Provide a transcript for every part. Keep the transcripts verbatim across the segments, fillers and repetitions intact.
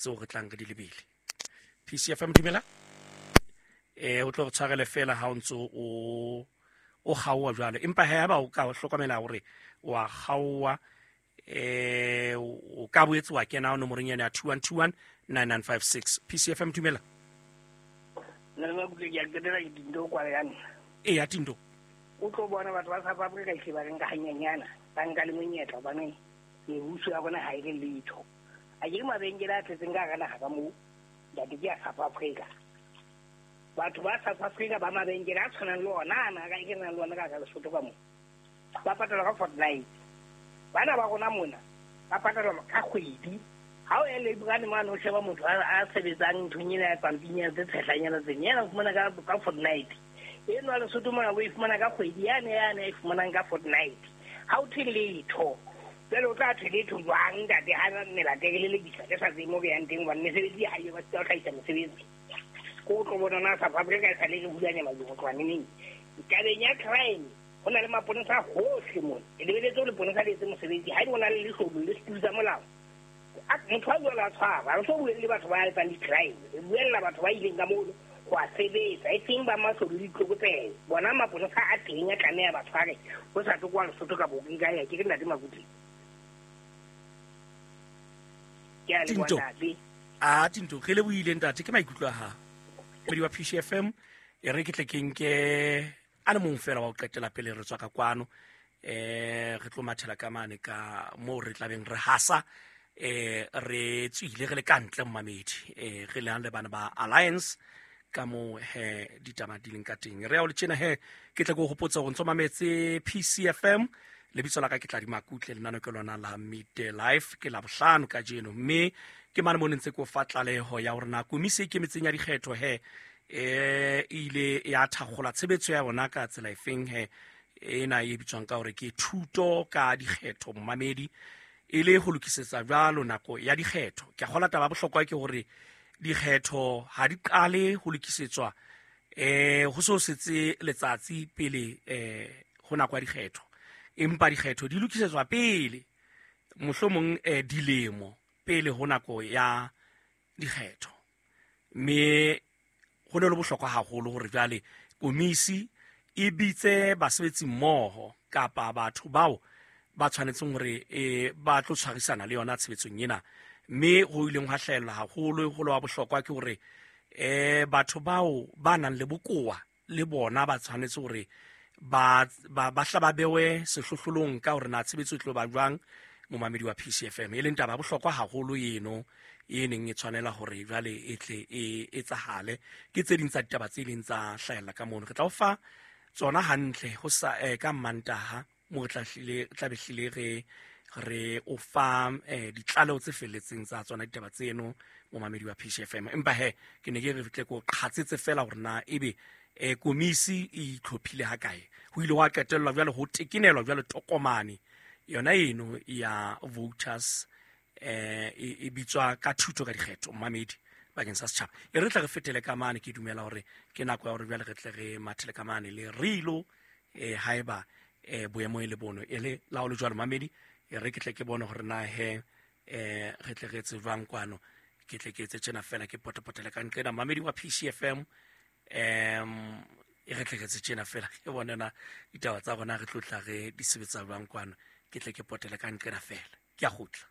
Tseo re tlang re di lebile. P C F M, dumela. eh o tlo re tshwarele fela ha o ntso o o kgaoha jwalo, empa he ba o ka hlokomela hore wa kgaoha, eh o ka boetse wa kena nomorong ena ya two one two one nine nine five six. P C F M, dumela. Nna ba butle ke a qetela ke Tinto kwale ya nna. E ya Tinto. O tlo bona batho ba South Africa hle ba re nka hanyenyana, ba nka le monyetla, hobane mebuso ya bona ha e le letho. A ke mabenkele a tletseng ka hara naha ka moo, ntate, ke ya South Africa. Batho ba South Africa ba mabenkele a tshwanang le ona ana ka ke nang le ona ka hara Lesotho ka moo, ba patalwa ka fortnight. Bana ba rona mona ba patalwa ka kgwedi. Ha o ya Labourane mane, o sheba motho a a sebetsang nthong ena ya pampinyana tse tshehlanyana tseng, yena o fumana ka ka fortnight. Eno wa Lesotho mona o e fumana ka kgwedi, yane yane a e fumanang ka fortnight ha o thwe letho. Jwale o tla thwe letho jwang, ntate, ha melata e re lelekisa ke sa tsebe mo re yang teng, hobane mesebetsi ha eyo, ba sita ho hlahisa mesebetsi. Ko o tlo bona na South Africa e sale re hulanya majong ho tloha neneng. Tabeng ya crime, ho na le maponesa hohle mona. E lebeletse ho leponesa le etse mosebetsi. Ha ebe o na le leshodu le setulu sa molao, a- motho a jwalo a tshwara. Re so buelle batho ba etsang di-crime, re buella batho ba ileng ka mono ho a sebetsa, e seng ba mashodu le ditlokotsebe. Bona maponesa a teng, a tlameha ba tshware ho sa tlo kwa Lesotho ka bo ke ka ya ke re, ntate Makuti, ke a leboha. Tinto. Ntate. A Tinto, re lebohile, ntate, ke maikutlo a hao. Moedi wa P C F M, e re ke tle ke nke a le mong fela wa ho qetela pele re tswa ka kwano. eh re tlo mathela ka mane ka moo re tlabeng re hasa, eh re tswile re le ka ntle, momamedi, eh re le le bana ba Alliance ka moo he ditaba di leng ka teng. Re ya o le tjena he ke tle ke o hopotse hore ntso mametse P C F M. Lebitso la ka ke Tladi Makutle. Lenano ke lona la Midday Life, ke la bohlano kajeno, mme ke mane mo ne ntse ko fa tlaleho ya hore na komisi e ikemetseng ya dikgetho he eh e ile ya thakgola tshebetso ya bona ka tsela efeng he ena e bitswang ka hore ke thuto ka dikgetho, momamedi, e le ho lokisetsa jwalo nako ya dikgetho. Ke a kgola taba ya bohlokwa ke hore dikgetho ha di qale ho lokisetswa eh ho so setse letsatsi pele eh ho nako ya dikgetho, empa dikgetho di lokisetswa pele, mohlomong eh dilemo pele ho nako ya dikgetho. Mme ho ne le bohlokwa haholo hore jwale komisi e bitse basebetsi mmoho kapa batho bao ba tshwanetseng hore eh ba tlo tshwarisana le yona tshebetsong ena. Mme ho ileng hwa hlahella haholo holo wa bohlokwa ke hore eh batho bao ba nang le bokowa le bona ba tshwanetse hore ba ba ba hla ba bewe sehlohlolong ka hore na tshebetso e tlo ba jwang, momamedi wa P C F M, e leng taba ya bohlokwa haholo eno e neng e tshwanela hore jwale e tle e etsahale. Ke tse ding tsa ditaba tse ileng tsa hlahella ka mono. Re tla o fa tsona hantle ho sa eh, ka Mantaha mo re tla hlile tla be hlile re re o fa eh, ditlaleho tse felletseng tsa tsona ditaba tseno, momamedi wa P C F M. Empa he ke ne ke re tle ko qhatsetse fela hore na ebe eh, komisi e itlhophile ha kae. Ho ile hwa qetellwa jwale ho tekenelwa jwale tokomane yona eno ya voters, eh e e bitswa ka thuto ka dikgetho, momamedi, bakeng sa setjhaba. E re tle re fetele ka mane. Ke dumela hore ke nako ya hore jwale re tle re mathele ka mane le rilo eh haeba eh boemo e le bono e le la ho le jwalo, mamedi. E re ke tle ke bone hore na he eh re tle re etse jwang kwano. Ke tle ke etse tjena fela, ke potepotele ka nqena, mamedi wa P C F M. um e re tle re etse tjena fela, ke bone na ditaba tsa rona re tlo tla re di sebetsa jwang kwano. Ke tle ke potele ka nqena fela, ke a kgutla.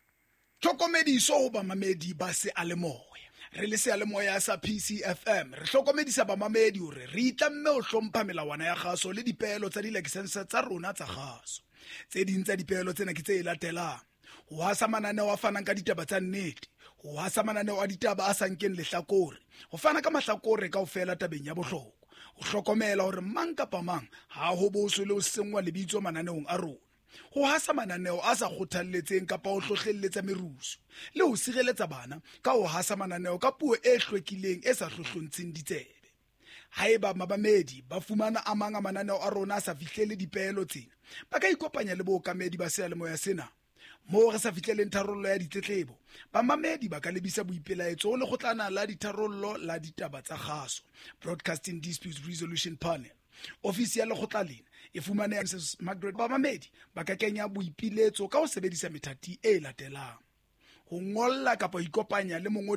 Tlhokomediso ho bamamedi ba seyalemoya. Re le seyalemoya sa P C F M, re hlokomedisa bamamedi hore re itlamme ho hlompha melawana ya kgaso le dipeelo tsa dilakesense tsa rona tsa kgaso. Tse ding tsa dipeelo tsena ke tse latelang: ho hasa mananeo a fanang ka ditaba tsa nnete, ho hasa mananeo a ditaba a sa nkeng lehlakore, ho fana ka mahlakore kaofela tabeng ya bohlokwa, ho hlokomela hore mang kapa mang ha ho boswe le ho senngwa lebitso mananeong a rona, ho hasa mananeo a sa kgothalletseng kapa ho hlohlelletsa merusu, le ho sireletsa bana ka ho hasa mananeo ka puo e hlwekileng e sa hlohlontsheng ditsebe. Haeba mamamedi ba fumana a mang a mananeo a rona a sa fihlele dipeelo tsena, ba ka ikopanya le bookamedi ba seyalemoya sena. Moo re sa fihleleng tharollo ya ditletlebo, bamamedi ba ka lebisa boipelaetso ho lekgotlana la ditharollo la ditaba tsa kgaso, Broadcasting Disputes Resolution Panel. Ofisi ya lekgotla lena e fumaneha Missus Margaret. Bamamedi ba ka kenya boipiletso ka ho sebedisa methati e latelang: ho ngolla kapa ho ikopanya le mongodi.